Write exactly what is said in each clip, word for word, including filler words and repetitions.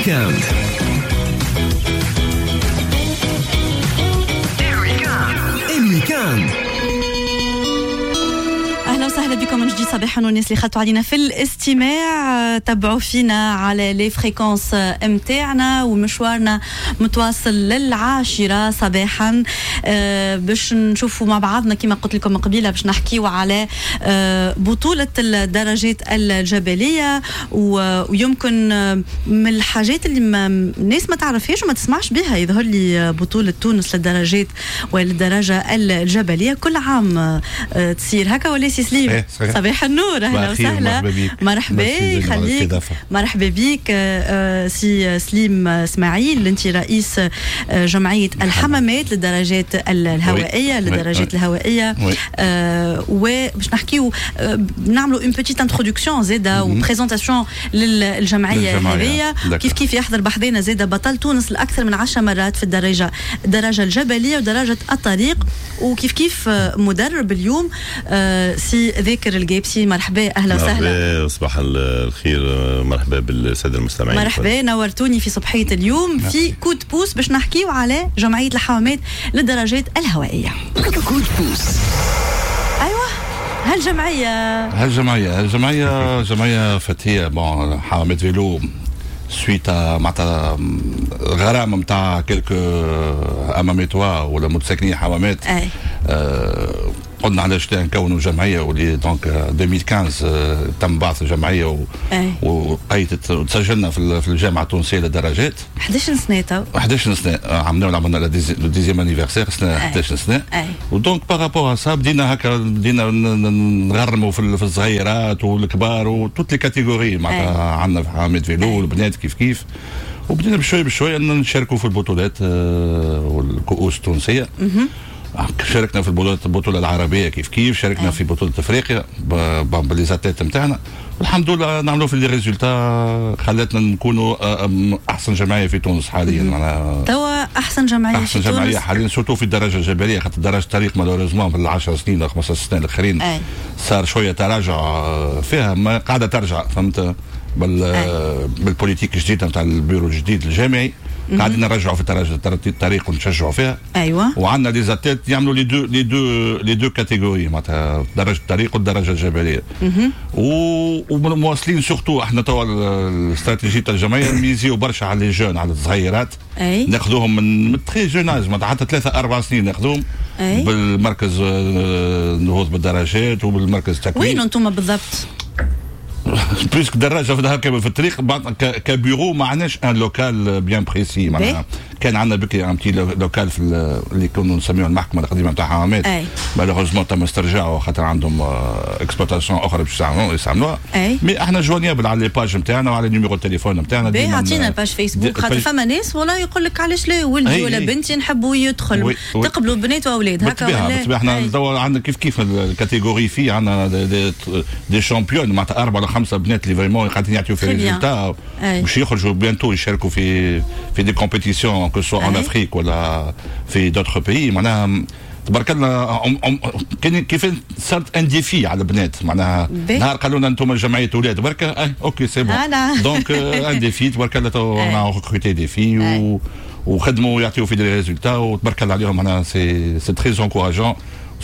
ال week-end. ال week-end. اهلا وسهلا بكم من جديد صباحا، والناس اللي خدتوا علينا في الاستماع، تبعوا فينا على les fréquences متاعنا، ومشوارنا متواصل للعاشره صباحا آه، باش نشوفوا مع بعضنا كما قلت لكم قبيلة باش نحكيو على آه، بطوله الدرجات الجبليه، ويمكن من الحاجات اللي ما الناس ما تعرفهاش وما تسمعش بها، يظهر لي بطوله تونس للدرجات والدرجة الجبلية كل عام آه، تصير هكا ولا سي سليم؟ إيه، صباح النور، اهلا وسهلا، مرحبا، يخليك، مرحبا بك آه، سي سليم اسماعيل، انت رئيس آه، جمعية الحمامات للدرجات الهوائيه للدرجات الهوائيه، آه، وباش نحكيو نعملوا une petite introduction زاده و présentation للجمعية هذيا. كيف كيف يحضر بحذانا زاده بطل تونس لاكثر من عشر مرات في الدرجة الدرجة الجبلية ودرجة الطريق، وكيف كيف مدرب اليوم، سي ذاكر القابسي. مرحبا، اهلا وسهلا. مرحبا، صباح الخير، مرحبا بالساده المستمعين. مرحبا، نورتوني في صبحيه اليوم في coup de pouce باش نحكيو على جمعية الحمامات للدرجات الهوائيه. coup de pouce. ايوه، هالجمعيه. هالجمعيه هالجمعيه جمعية فتية bon حمامات vélo suite معناتها غرامة نتاع quelques حماماتوا ولا متساكنين حمامات. أي. آه قلنا علاش لا نكونوا جمعيه، واللي donc ألفين وخمسطاش تم بعث الجمعية و... وقيدت وتسجلنا في الجامعة التونسية للدرجات. حداش سنة تو. حداش سنه، عملنا عملنا le dixième anniversaire سنه، حداش سنه. و donc par rapport à ça بدينا هكا، بدينا نغرموا في الصغيرات والكبار و toutes les catégories، معناتها عندنا في حمامات vélo والبنات كيف كيف، وبدينا بشوي بشوي نشاركوا في البطولات آه، والكؤوس التونسيه. شاركنا في البطولة البطولة العربية كيف كيف، شاركنا في بطوله افريقيا ب les athlètes نتاعنا، والحمد لله نعملوا في les résultats خلتنا نكونوا آه، احسن جمعية في تونس حاليا. معناها توا احسن جمعية احسن في جمعية حاليا، surtout في الدرجة الجبليه، خاطر درجه الطريق malheureusement في العشر سنين او خمس سنين الاخرين صار شوية تراجع آه، فيها، ما قاعدة ترجع، فهمت، بال بال politique الجديدة نتاع البيرو الجديد الجامعي قاعدين نرجعوا في الطريق ونشجعوا فيها. ايوه وعندنا des athlètes يعملوا les deux les deux les deux catégories، معناتها درجه الطريق والدرجة الجبليه، ومواصلين. surtout احنا توا الاستراتيجية تاع الجمعية نميزيو برشا على les jeunes، على الصغيرات. أي. ناخذوهم من très jeune âge، معناتها حتى ثلاثة اربع سنين ناخذوهم أي. بالمركز آه، النهوض بالدرجات وبالمركز التكوين. وين انتم بالضبط؟ puisque دراجة في كامل في الطريق، كبيرو ما عندناش un local bien précis. معناها كان عندنا بكري un petit local في اللي كنا نسميوه المحكمة القديمة نتاع حمامات، malheureusement تم استرجاعه خاطر عندهم exploitation اخرى باش يستعملوها، mais احنا joignables على les pages نتاعنا وعلى numéro التليفون نتاعنا. باهي، اعطينا page فيسبوك، خاطر فما ناس والله يقول لك علاش لا، ولدي ولا بنتي نحبوا يدخل. تقبلوا بنات واولاد هكا ولا؟ بالطبيعه، احنا عندنا كيف كيف ال catégorie filles، عندنا des championnes، معناتها اربعة ولا خمسة بنات اللي vraiment قاعدين يعطيو في résultats، باش يخرجوا bientôt يشاركوا في في des compétitions، que ce soit en Afrique ولا في d'autres pays. معناها تبارك الله كان كيف صارت un défi على البنات، معناها نهار قالوا لنا انتم جمعية اولاد برك، اه OK c'est bon، donc un défi تبارك الله on a recruté des filles وخدموا يعطيو في des résultats، وتبارك الله عليهم، معناها c'est c'est très encourageant،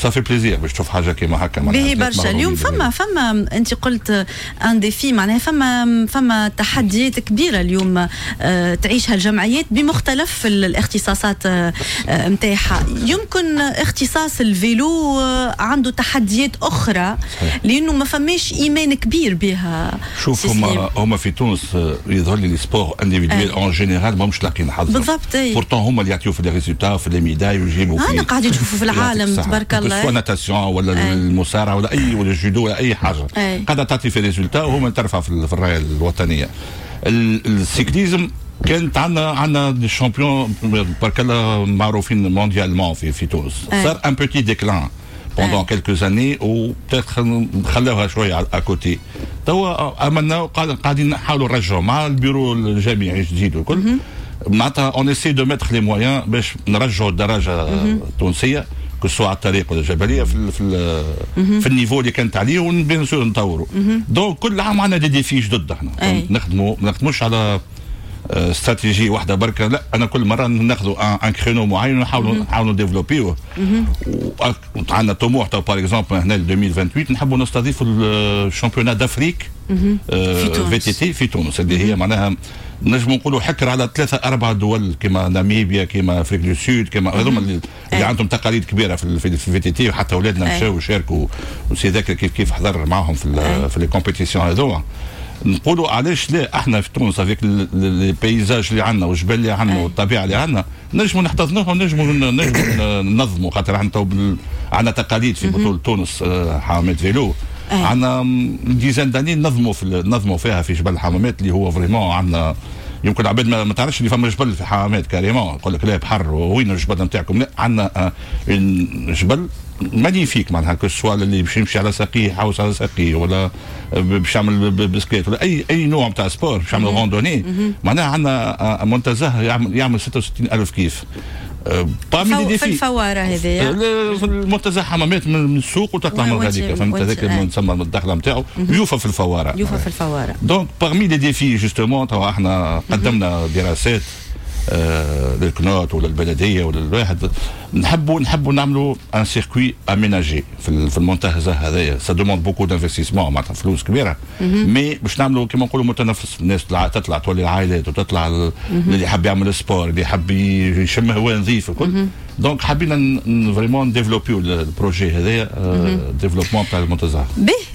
ça fait plaisir باش تشوف حاجة كيما هكا. باهي برشا. اليوم فما فما انت قلت un défi، معناها فما فما تحديات كبيرة اليوم آه، تعيشها الجمعيات بمختلف الاختصاصات نتاعها. آه، يمكن اختصاص ال vélo آه، عنده تحديات اخرى لانه ما فماش ايمان كبير بها. شوف، هما هما في تونس يظهر لي les sports individuels en général ماهمش لاقيين حظهم. بالضبط. pourtant هما اللي يعطيو في les résultats، في les médailles، ويجيبوا في انا قاعدين نشوفوا في العالم تبارك الله. soit natation ولا المصارعة ولا اي ولا الجودو ولا اي حاجه، قاعدة تعطي في résultats وهما ترفع في الراية الوطنيه. ال cyclisme كانت عندنا عندنا des champions بارك الله معروفين mondialement في في تونس، صار un petit déclin pendant quelques années و خلاوها شوية à côté. توا امنا قاعدين نحاولوا نرجعوا مع البيرو الجامعي الجديد والكل، معناتها on essaie de mettre les moyens باش نرجعوا الدرجة التونسيه، que ce soit على الطريق ولا الجبليه، في في في ال niveau اللي كانت عليه، و bien sûr نطوروا. donc كل عام عندنا des défis جدد. احنا نخدموا، ما نخدموش على استراتيجية واحدة بركه، لا، انا كل مرة ناخذوا un créneau معين ونحاولوا نحاولوا développer وه. عندنا طموح تو par exemple هنا ألفين وثمانية وعشرين نحبوا نستضيفوا ال championnat d'Afrique VTT في تونس، اللي هي معناها نجم نقولوا حكر على ثلاثة أربع دول كما ناميبيا، كما Afrique du Sud، كما هذوما اللي, اللي عندهم تقاليد كبيرة في في ال VTT. وحتى اولادنا مشاو وشاركوا، وسي ذاكر كيف كيف حضر معهم في في les compétitions هذوما. نقولوا علاش لا احنا في تونس avec les paysages اللي عندنا والجبال اللي عندنا والطبيعة اللي عندنا نجموا نحتضنوها ونجموا نجموا ننظموا، خاطر احنا عندنا تقاليد في بطوله تونس آه، حمامات vélo، عندنا dizaine d'années نظموا في نظموا فيها في جبل الحمامات، اللي هو vraiment عندنا يمكن العباد ما تعرفش اللي فما جبل في حمامات carrément، يقول لك لا بحر، وين الجبل نتاعكم؟ لا، عندنا جبل magnifique، معناها que ce soit اللي باش يمشي على ساقيه، يحوس على ساقيه، ولا باش يعمل بسكليت، ولا اي اي نوع نتاع sport، باش يعمل randonnée، معناها عندنا منتزه يعمل يعمل ستة وستين الف كيف. parmi les في الفواره هذه؟ في المنتزه حمامات من السوق وتطلع من غاديك، فهمت؟ هذاك تسمى الدخلة نتاعو يوفى في الفواره. يوفى في الفواره. donc parmi les défis justement توا احنا قدمنا دراسات آه للكنوت ولا البلدية ولا الواحد، نحبوا نحبوا نعملوا un circuit aménagé في في المنتزه هذايا. ça demande beaucoup d'investissement، معناتها فلوس كبيره، mais باش نعملوا كيما نقولوا متنفس، الناس تطلع تطلع تولي العائلات وتطلع اللي يحب يعمل sport، اللي يحب يشم هواء نظيف الكل. donc حبينا vraiment développer ال projet هذايا، développement تاع المنتزه. به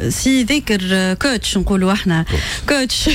سي ذاكر، coach، نقولوا احنا coach،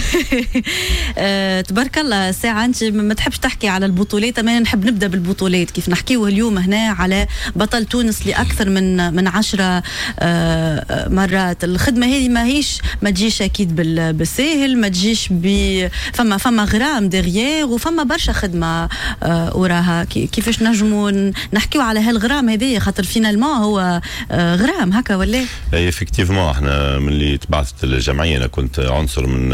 تبارك الله. ساعة انت ما تحبش تحكي على البطولات، اما نحب نبدا بالبطولات. كيف نحكيو اليوم هنا على بطل تونس لاكثر من من عشرة آه، مرات، الخدمة هذه ما هيش ما تجيش اكيد بالساهل، ما تجيش ب فما فما غرام derrière وفما برشا خدمة آه، وراها. كيفاش نجموا نحكيو على هالغرام هذايا؟ خاطر finalement هو آه، غرام هكا ولا؟ اي effectivement، احنا من اللي تبعثت الجمعية انا كنت عنصر من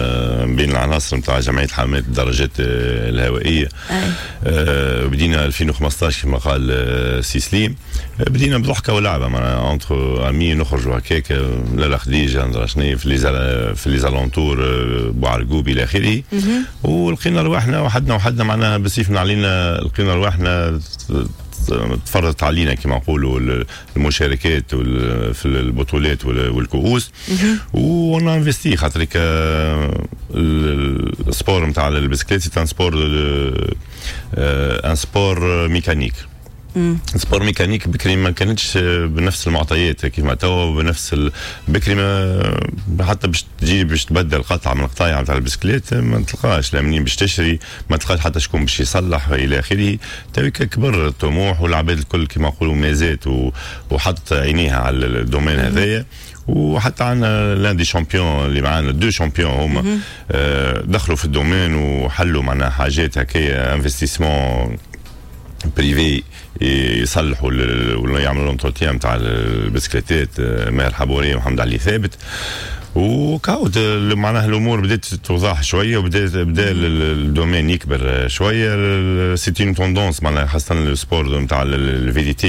بين العناصر نتاع جمعية حمامات الدراجات الهوائيه. آه بدينا ألفين وخمسطاش كما قال آه، سي سليم، بدينا بضحكه ولعبه معناها entre amis، نخرجوا هكاك لا خديجة ندرا شنو في les في les alentours بوعرقوب الى اخره، ولقينا رواحنا وحدنا وحدنا معناها بالسيف علينا، لقينا رواحنا تفرضت علينا كما نقولوا المشاركات في البطولات والكؤوس و on a investi، خاطر ال sport نتاع البسكليت c'est un sport un sport mécanique، sport mécanique. بكري ما كانتش بنفس المعطيات كيما توا، بنفس ال... بكري ما حتى باش تجي باش تبدل قطعه من القطايع نتاع البسكليت ما تلقاش لا منين باش تشري، ما تلقاش حتى شكون باش يصلح الى اخره. تويك كبر الطموح والعباد الكل كيما نقولوا مازات و... وحط عينيها على ال domaine هذايا، وحتى عندنا l'un des champions اللي معانا، deux champions هما آه، دخلوا في ال domaine وحلوا معناها حاجات هكايا investissement privé، يصلحوا ولا يعملوا l'entretien نتاع البسكليتات، آه، ماهر حبوري ومحمد علي ثابت. وكاو معناها الامور بدات توضح شوية وبدا بدا ال domaine يكبر شويه. c'est une tendance معناها، خاصة ال sport نتاع ال VTT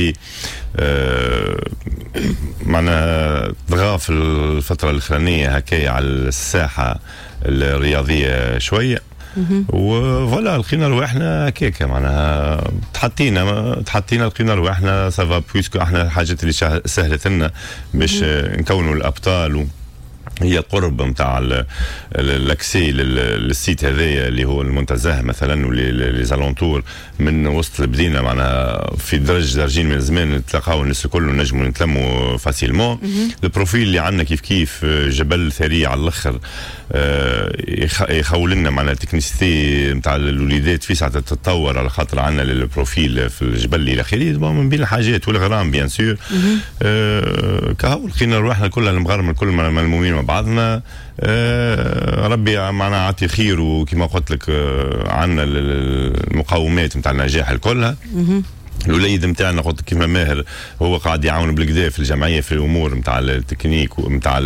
معناها طغى في الفترة الاخرانية هكايا على الساحة الرياضية شويه. و voilà لقينا رواحنا هكاكا معناها تحطينا تحطينا لقينا رواحنا ça va، puisque احنا الحاجات اللي سهلت لنا باش نكونوا الابطال هي القرب نتاع l'accès لل site هذايا اللي هو المنتزه مثلا و les alentours من وسط المدينه، معناها في درج درجين من زمان نتلاقاو الناس الكل ونجموا نتلموا facilement. ال profil اللي عندنا كيف كيف جبل ثري على الاخر، آه، يخول لنا معناها ال technicité نتاع الوليدات في ساعة تتطور على خاطر عندنا ال profil في الجبل الى اخره، من بين الحاجات والغرام bien sûr. آه، كهو لقينا رواحنا كلها المغارم الكل ملمومين مع بعضنا. آه، ربي معنا عطي خير، وكما قلت لك آه، عندنا المقومات نتاع النجاح الكلها. الوليد نتاعنا قلت كيما ماهر هو قاعد يعاون بالكدا في الجمعية في الامور نتاع التكنيك ونتاع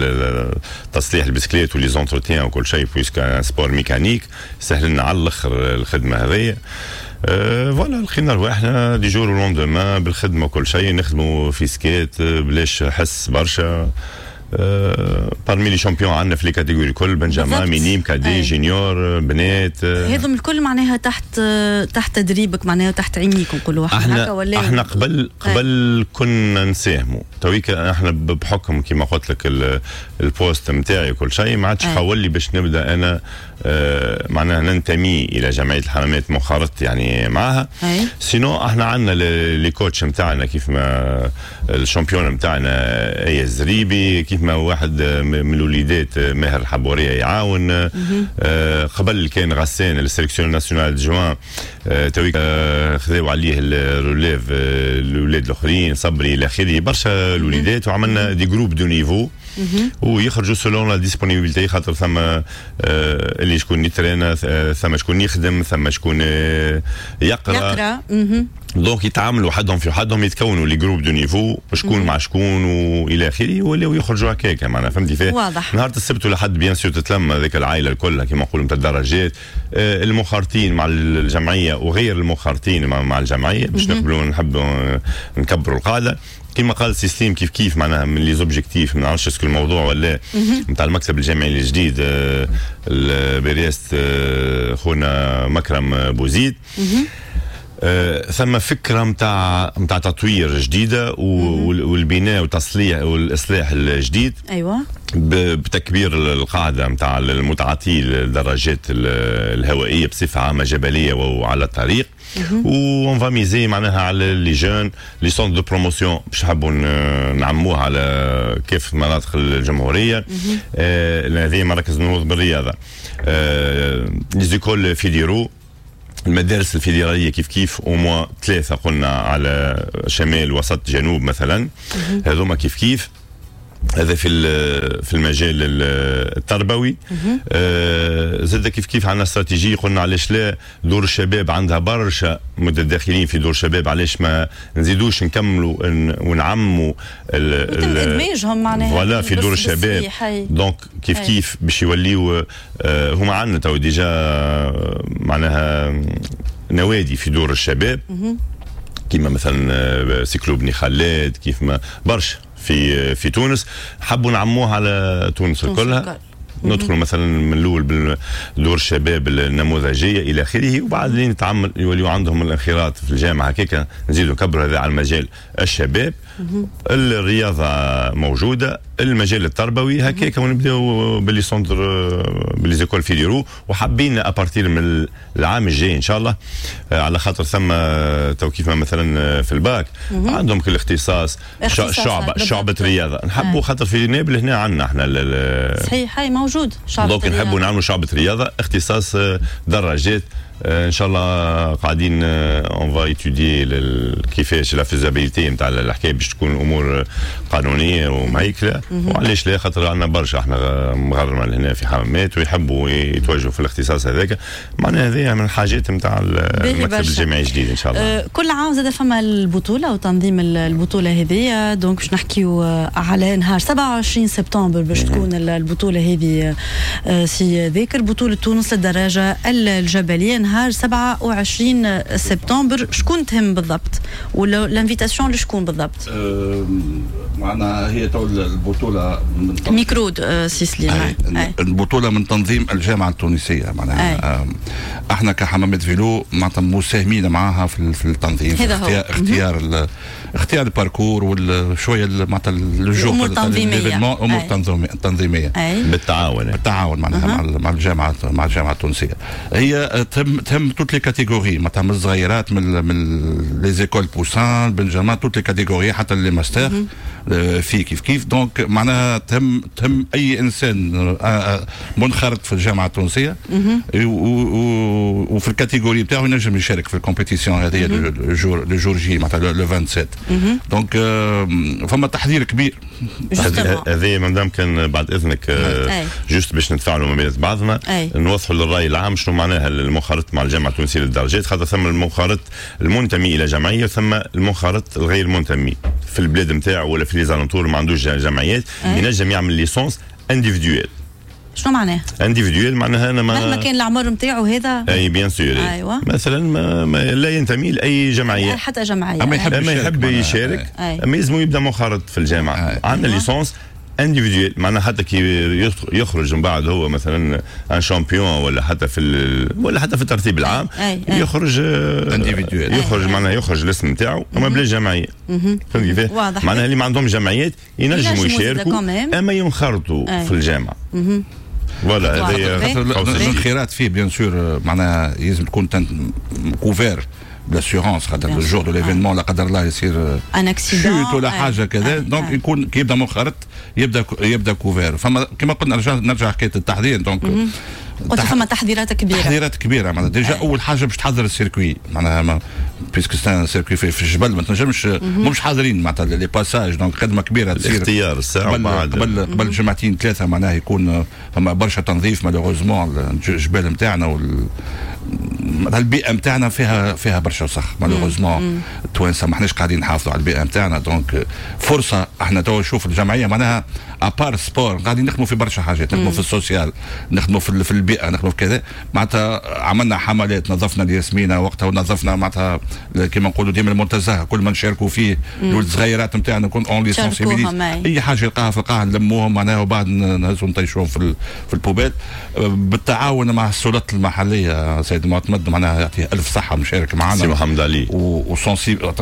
تصليح البسكليت و les entretiens وكل شيء، puisque sport mécanique سهل لنا على الاخر الخدمة هذيا. أه voilà لقينا رواحنا du jour au lendemain بالخدمة وكل شيء، نخدموا في سكات بلاش حس برشا. parmi les champions عندنا في les catégories الكل، benjamin، minime، cadet، junior، بنات. هذم الكل معناها تحت تحت تدريبك، معناها تحت عينيك نقولوا احنا هكا ولا؟ احنا قبل قبل كنا نساهموا، تويك احنا بحكم كما قلت لك ال poste نتاعي وكل شيء ما عادش حولي باش نبدا انا آه معناها ننتمي الى جمعية الحمامات منخرط يعني معها. sinon احنا عندنا les coachs نتاعنا، كيف ما ال champion نتاعنا اي الزريبي، كيف ما واحد من الوليدات ماهر الحبوريه يعاون. آه قبل كان غسان ال sélectionneur national adjoint، آه تويك آه خذاو عليه ال relève الاولاد الاخرين، صبري الى اخره، برشا الوليدات، وعملنا des groupes de niveau ويخرجوا selon la disponibilité، خاطر ثم آه اللي شكون يترينا، ثم شكون يخدم، ثم شكون يقرا يقرا donc يتعاملوا وحدهم في وحدهم، يتكونوا les groupes de niveau شكون مع شكون والى اخره، ولاو يخرجوا هكاك معناها، فهمتي فيه؟ واضح. نهار السبت والأحد bien sûr تتلم هذيك العائلة الكل كما نقولوا نتاع الدراجات، آه المخارطين مع الجمعية وغير المخارطين مع, مع الجمعية باش نقبلوا نحبوا نكبروا القاعدة. كما قال سي سليم كيف كيف معناها من les objectifs، ما نعرفش est-ce que الموضوع ولا نتاع المكتب الجامعي الجديد برئاسة خونا مكرم بوزيد، آه ثم فكرة نتاع نتاع تطوير جديدة والبناء وتصليح والاصلاح الجديد. ايوه، بتكبير القاعدة نتاع المتعاطي الدراجات الهوائية بصفة عامة، جبلية وعلى الطريق، و on va miser معناها على les jeunes، les centres de promotion باش نحبوا نعموها على كيف مناطق الجمهوريه، هذه مراكز النهوض بالرياضه، آه les écoles fédéraux، المدارس الفيدرالية كيف كيف، au moins ثلاثة قلنا على شمال وسط جنوب مثلا، هذوما كيف كيف. هذا في في المجال التربوي. آه زاد كيف كيف عندنا استراتيجيه، قلنا علاش لا دور الشباب عندها برشا متداخلين في دور الشباب، علاش ما نزيدوش نكملوا ونعموا ادماجهم معناها voilà في دور الشباب. donc كيف كيف باش يوليو آه هما عندنا تو déjà معناها نوادي في دور الشباب، كيما مثلا cyclo بني خلاد، كيف ما برشا في في تونس، حبوا نعموها على تونس كلها. ندخلوا مثلا من الاول بدور الشباب النموذجيه الى اخره، وبعد لين نتعمل يوليوا عندهم الانخراط في الجامعة هكاك نزيدوا نكبروا هذا على المجال الشباب. الرياضة موجوده، المجال التربوي هكاك، ونبداو ب les centres ب les écoles fédéraux. وحابين à partir من العام الجاي ان شاء الله، على خاطر ثم تو كيف مثلا في الباك عندهم كل اختصاص شعبه شعبه رياضة، نحبوا خاطر في نابل هنا عندنا احنا صحيح هاي موجود شعبه، donc نحبوا نعملوا شعبه رياضة اختصاص دراجات. ان شاء الله قاعدين on va étudier كيفاش la faisabilité نتاع الحكاية باش تكون الامور قانونية ومهيكله. وعلاش لا، خاطر عندنا برشا احنا مغرمه هنا في حمامات ويحبوا يتوجهوا في الاختصاص هذاك، معناها هذه من الحاجات نتاع المكتب الجامعي الجديد ان شاء الله. أه كل عام زاد فما البطولة وتنظيم البطولة هذه، donc باش نحكيو على نهار سبعة وعشرين سبتمبر باش تكون البطولة هذه سي ذاكر، بطوله تونس للدراجه الجبلية نهار سبعة وعشرين سبتمبر. شكون تهم بالضبط ولا l'invitation لشكون بالضبط؟ معنا هي تو البطولة من ميكرود سي سليم. البطولة من تنظيم الجامعة التونسية، معناها احنا كحمامات vélo معناتها مساهمين معاها في التنظيم، في اختيار اختيار, اختيار ال parcours وشوية معناتها الامور التنظيمية، الامور التنظيمية بالتعاون بالتعاون معناها مع الجامعة مع الجامعة التونسية. هي تهم تهم toutes les catégories، معناتها من الصغيرات من من les écoles poussins، benjamin، toutes les catégories حتى les masters في كيف كيف. donc معناها تهم تهم اي انسان منخرط في الجامعة التونسية وفي ال catégorie بتاعه ينجم يشارك في ال compétition هذه le jour le jour J معناتها le سبعة وعشرين. donc فما تحضير كبير. هذه مدام كان بعد اذنك juste باش نتفاعلوا ما بين بعضنا، نوضحوا للراي العام شنو معناها المنخرط مع الجامعة التونسية للدرجات، خاطر ثم المنخرط المنتمي الى جمعية وثم المنخرط الغير منتمي في البلاد نتاعو ولا في les alentours ما عندوش جمعيات، ينجم يعمل licence individuelle. شنو معناه؟ individuelle معناها انا ما مهما كان العمر نتاعو هذا، اي bien sûr. ايوه مثلا ما ما لا ينتمي لاي جمعية، حتى جمعية، اما يحب, أما يحب يشارك، اما يلزم يبدا منخرط في الجامعة. عندنا licence individuel، معناها حتى كي يخرج من بعد هو مثلا un champion ولا حتى في ولا حتى في الترتيب العام أي أي. يخرج individuel، يخرج معناها يخرج الاسم نتاعو اما بلا جمعية. فهمت كيفاه؟ معناها اللي ما عندهم جمعيات ينجموا يشاركوا اما ينخرطوا في الجامعة. voilà، هذه الانخراط فيه bien sûr معناها لازم تكون couvert ب l'assurance، خاطر ال jour de l'événement لا قدر الله يصير un accident ولا حاجة كذا، donc يكون كي يبدا منخرط يبدا يبدا couvert. فما كما قلنا نرجع نرجع حكاية التحضير، donc قلت فما تحضيرات كبيرة، تحضيرات كبيرة معناها déjà اول حاجة باش تحضر ال circuit، معناها puisque c'est un circuit في, في الجبل ما تنجمش مش حاضرين معناتها les passages، donc خدمة كبيرة تصير الاختيار الساعة قبل قبل قبل جمعتين ثلاثه، معناها يكون فما برشا تنظيف. malheureusement الجبال نتاعنا وال البيئة نتاعنا فيها فيها برشا وسخ، malheureusement التوانسة ما احناش قاعدين نحافظوا على البيئة نتاعنا. donc فرصة احنا تو نشوف الجمعية معناها à part sport قاعدين نخدموا في برشا حاجات، نخدموا في ال social، نخدموا في, في البيئه، نخدموا في كذا. معناتها عملنا حملات، نظفنا الياسمينه وقتها ونظفنا معناتها كما نقولوا ديما المنتزه كل ما نشاركوا فيه الصغيرات نتاعنا نكون on les sensibilise، اي حاجة يلقاها في القاعة نلموهم معناها وبعد نهزوا نطيشوهم في في ال poubelle، بالتعاون مع السلطات المحليه. سيد المعتمد معناها يعطيه الف صحة مشارك معنا، سي محمد علي، و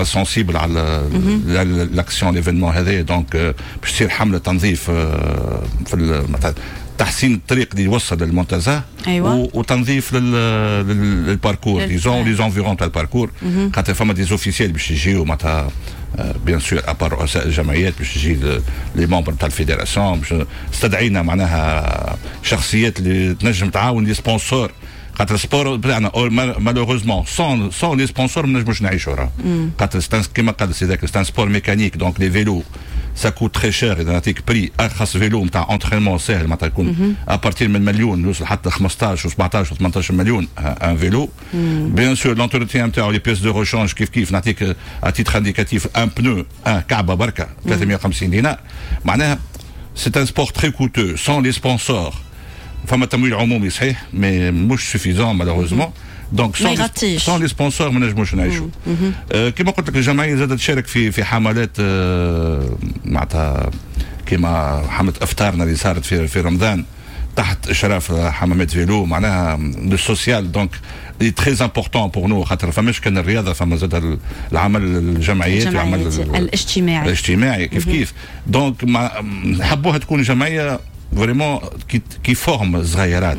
sensible على l'action l'événement هذا. donc باش تصير حمله تنظيف في مثلا تحسين الطريق اللي يوصل للمنتزه. أيوة. وتنظيف لل parcours disons les environs تاع ال parcours، خاطر فما des officiels باش يجيو معناتها bien sûr à part رؤساء الجمعيات باش يجي les membres تاع ال fédération، باش استدعينا معناها شخصيات اللي تنجم تعاون، les sponsors، خاطر ال sport بتاعنا malheureusement sans sans les sponsors ما نجموش نعيشوا راه، خاطر كيما قال سي ذاك c'est un sport mécanique، donc les vélos ça coûte très cher. اذا نعطيك prix، ارخص vélo نتاع entraînement ساهل معناتها يكون à partir من مليون يوصل حتى خمسطاش و سبعطاش و ثمنطاش مليون un vélo. bien sûr l'entretien نتاعو، les pièces de rechange كيف كيف. نعطيك à titre indicatif un pneu un كعبه بركة ثلاثمية وخمسين دينار. معناها c'est un sport très coûteux sans les sponsors. فما تمويل عمومي صحيح mais مش suffisant malheureusement، donc sans les sponsors ما نجموش نعيشوا. آه كما قلت لك الجمعية زادت تشارك في في حملات آه معناتها كما حمله افطارنا اللي صارت في في رمضان تحت اشراف حمامات vélo، معناها le social donc très important pour nous، خاطر فماش كان الرياضه، فما زاد العمل الجمعيات العمل الاجتماعي. الاجتماعي كيف كيف. donc نحبوها تكون جمعية vraiment qui qui forme صغيرات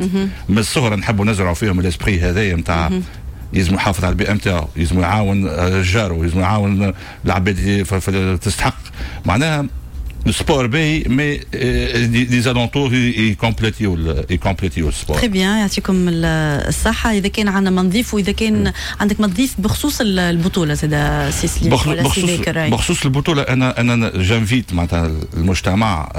من الصغر، نحبوا نزرعوا فيهم l'esprit هذايا نتاع يلزم يحافظ على البيئة نتاعو، يلزم يعاون جاره، يلزم يعاون العباد اللي تستحق. معناها ال sport باهي mais les alentours يكومبليتيو يكومبليتيو ال sport. très bien، يعطيكم الصحة. إذا كان عندنا ما نضيف وإذا كان عندك ما تضيف بخصوص البطولة زاد سي سليم ولا سي ذاكر. بخصوص البطولة أنا أنا j'invite معناتها المجتمع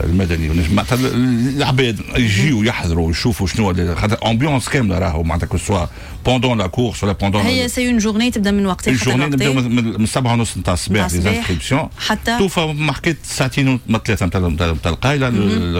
المدني، معناتها العباد يجيو يحضروا ويشوفوا شنو، خاطر ambiance كاملة راهو معناتها que ce soit pendant la course ولا pendant هي c'est une journée تبدا من وقت ال journée نبداو من سبعة ونص نتاع الصباح les inscriptions حتى توفى ما حكيت ساعتين ما ثلاثة نتاع القايله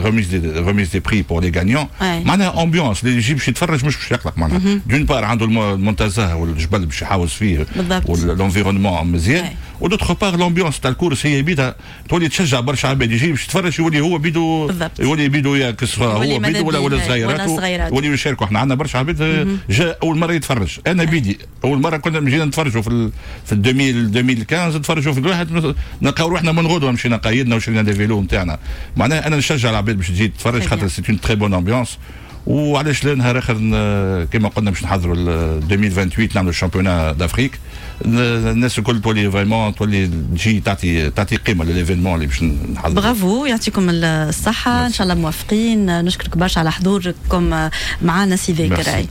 remise des remise des prix pour les gagnants. معناها ambiance اللي يجي باش يتفرج مش باش يقلق، معناها d'une part عنده المنتزه والجبل باش يحاوز فيه وال environnement مزيان، و d'autre part l'ambiance تاع ال course هي بيدها تولي تشجع برشا عباد، يجي باش يتفرج يولي هو بيدو يولي بيدو يا هو بيدو ولا ولا صغيرات يولي يشاركوا. احنا عندنا برشا عباد جا اول مرة يتفرج، انا بيدي اول مرة كنا جينا نتفرجوا في في ألفين ألفين وخمسطاش نتفرجوا في الواحد، نلقاو روحنا من غدوه مشينا قيدنا وشرينا des vélos نتاعنا. معناها انا نشجع العباد باش تجي تتفرج خاطر c'est une très bonne ambiance. وعلاش لا نهار اخر كما قلنا باش نحضروا ألفين وثمانية وعشرين نعملوا ال championnat d'Afrique، الناس الكل تولي vraiment تولي تجي تعطي تعطي قيمة لل événement اللي باش نحضروا. برافو، يعطيكم الصحه، ان شاء الله موفقين. نشكرك برشا على حضوركم معنا سي ذاكر.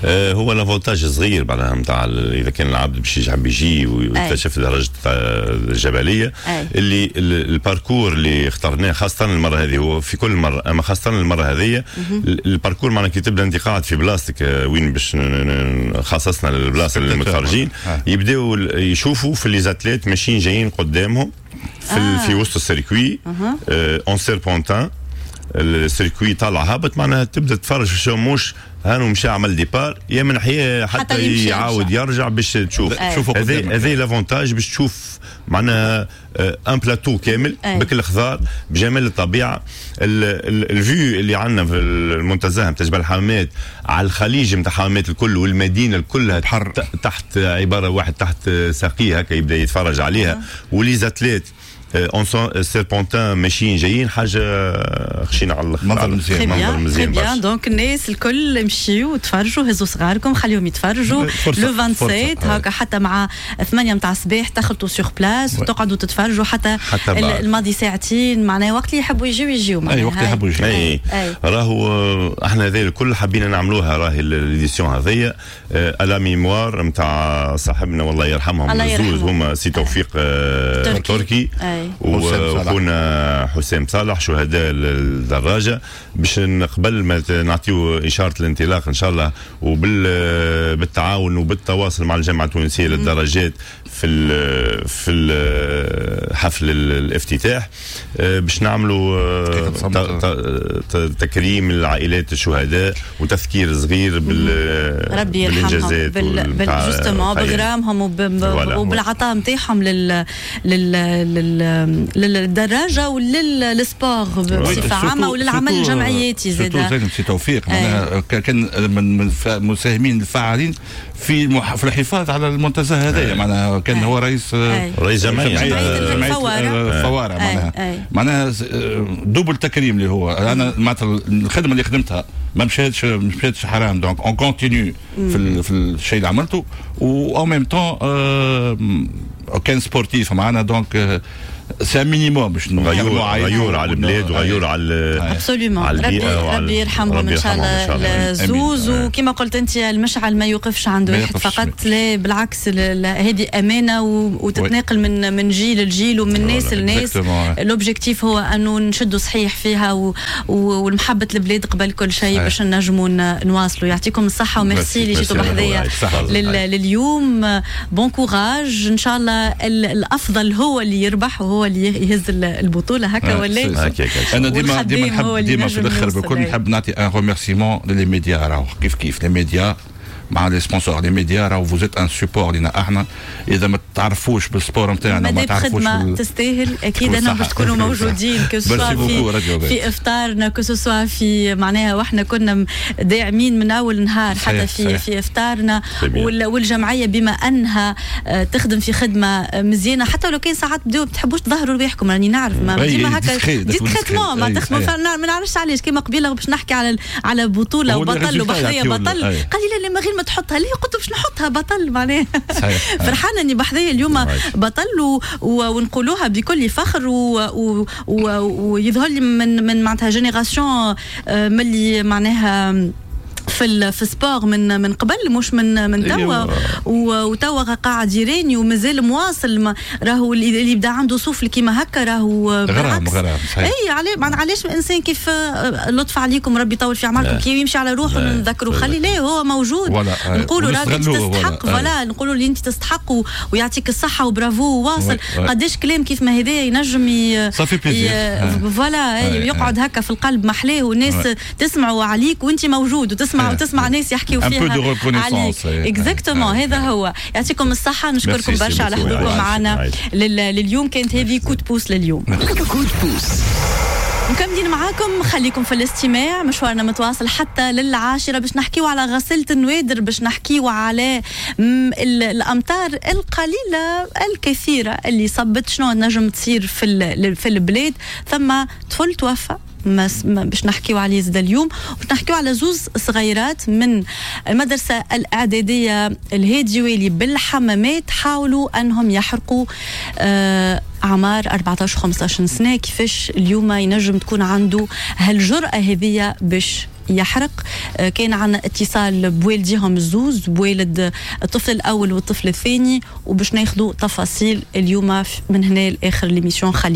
آه هو l'avantage صغير معناها نتاع اذا كان العبد باش يحب يجي ويكتشف درجه الجبلية اللي ال parcours اللي اخترناه خاصة المرة هذه، هو في كل مرة اما خاصة المرة هذه، ال parcours معناها كي تبدا انت قاعد في بلاصتك آه، وين باش خصصنا البلاصة للمتفرجين، يبداو يشوفوا في les athlètes ماشيين جايين قدامهم في آه. في وسط ال circuit en serpentin، ال circuit طالع هابط، معناها تبدا تتفرج في مش هانو مشى عمل départ يا من حياة حتى, حتى يعاود يرجع باش تشوف. هذا هذا l'avantage باش تشوف معناها un plateau كامل بكل الخضار، بجمال الطبيعه، ال vue اللي عندنا في المنتزه نتاع جبل الحمامات على الخليج نتاع حمامات الكل والمدينة كلها بحر تحت، عبارة واحد تحت ساقيه هكا يبدا يتفرج عليها، و les athlètes en serpentin ماشيين جايين، حاجة خشينا على الاخر. منظر مزيان. منظر مزيان. bien، donc الناس الكل مشيو تفرجوا، هزوا صغاركم خليهم يتفرجوا le سبعة وعشرين هكا، حتى مع ثمانية نتاع الصباح تخلطوا sur place وتقعدوا تتفرجوا حتى, حتى الماضي ساعتين، معناها وقت اللي يحبوا يجيو يجيو. اي، وقت اللي يحبوا يجيو. اي، راهو احنا هذا الكل حبينا نعملوها، راهي l'édition هذيا à la mémoire نتاع صاحبنا والله يرحمهم الزوز، هما سي توفيق تركي وخونا حسام صالح، شهداء الدراجه، باش قبل ما نعطيو اشارة الانطلاق ان شاء الله، وبالتعاون وبالتواصل مع الجامعة التونسية للدراجات في ال في ال حفل الافتتاح، آه، باش نعملوا آه، تكريم العائلات الشهداء وتذكير صغير بال ربي يرحمهم، بال بال justement بغرامهم وبالعطاء نتاعهم لل لل للدراجه ولل sport بصفة عامة وللعمل الجمعياتي. زاد زاد سي توفيق معناها كان من المساهمين الفاعلين في في الحفاظ على المنتزه هذايا، معناها كان هو رئيس رئيس جمعية جمعية الفواره، معناها معناها double تكريم اللي هو انا معناتها الخدمة اللي خدمتها ما مشاتش ما مشاتش حرام، donc on continue في في الشيء اللي عملته، و en même temps كان sportif معنا، donc c'est minimum باش غيور غيور على البلاد وغيور على absolument، ربي ربي يرحمهم ان شاء الله الزوز. وكما قلت انت، المشعل ما يوقفش عند واحد فقط، لا بالعكس، هذه امانه وتتناقل من من جيل لجيل ومن ناس لناس. l'objectif هو انه نشدوا صحيح فيها والمحبة البلاد قبل كل شيء باش نجموا نواصلوا. يعطيكم الصحة وميرسي اللي جيتوا بحذايا لليوم. bon courage، ان شاء الله الافضل هو اللي يربح وهو اللي يهز البطوله، هكا ولا؟ انا ديما ديما نحب، ديما في الاخر بكل نحب نعطي un remerciement ل les médias، راهو كيف كيف les médias مع les sponsors. les médias راهو vous êtes un support لينا احنا، اذا ما تعرفوش بال sport نتاعنا ما تعرفوش خدمة تستاهل اكيد انا باش تكونوا موجودين، que ce soit في في افطارنا، que ce soit في معناها واحنا كنا داعمين من اول نهار حتى في صحيح. في افطارنا، والجمعية بما انها آه، تخدم في خدمة مزيانه، حتى لو كان ساعات بداو ما تحبوش تظهروا رواحكم، راني نعرف ما ديما هكا discrètement ما تخدموا، ما نعرفش علاش. كيما قبيلة باش نحكي على على بطوله وبطل وبحذايه بطل، قال لي لا لا ما غير ما تحطها. ليه؟ قلت باش نحطها بطل، معناها فرحانة اني بحذايا اليوم بطل و... ونقولوها بكل فخر، و... و... ويظهر لي من من معناتها génération آه، ملي معناها في في sport من من قبل، مش من من توا. أيوة. وتوا قاعد يراني ومازال مواصل. راهو اللي يبدا عنده سوفل كيما هكا راهو غرام غرام. صحيح. اي، علاش الانسان كيف آه، لطف عليكم، ربي يطول في اعماركم، كي يمشي على روحه نذكروا، خلي ليه هو موجود، نقولوا راك انت تستحق، voilà، نقولوا اللي انت تستحق ويعطيك الصحة وبرافو وواصل. قداش كلام كيف ما هذايا ينجم ça fait plaisir. voilà، يقعد هكا في القلب محلاه، والناس تسمعوا عليك وانت موجود، وتسمع وتسمع ناس يحكيوا فيها عليك. exactement، هذا هو. يعطيكم الصحه، نشكركم برشا على حضوركم معنا لليوم. كانت هذه coup de pouce لليوم. coup de pouce. مكملين معاكم، خليكم في الاستماع، مشوارنا متواصل حتى للعاشرة باش نحكيو على غسالة النوادر، باش نحكيو على الأمطار القليلة الكثيرة اللي صبت، شنو نجم تصير في في البلاد. ثم طفل توفى باش نحكيو عليه زاد اليوم، باش نحكيو على زوز صغيرات من المدرسة الإعدادية الهادي والي بالحمامات حاولوا أنهم يحرقوا، آه، أعمار أربعطاش خمسطاش سنة. كيفاش اليوم ينجم تكون عنده هالجرأة هذية باش يحرق؟ آه، كان عندنا اتصال بوالديهم الزوز، بوالد الطفل الاول والطفل الثاني، وباش ناخذوا تفاصيل اليوم من هنا لاخر l'émission. خليكم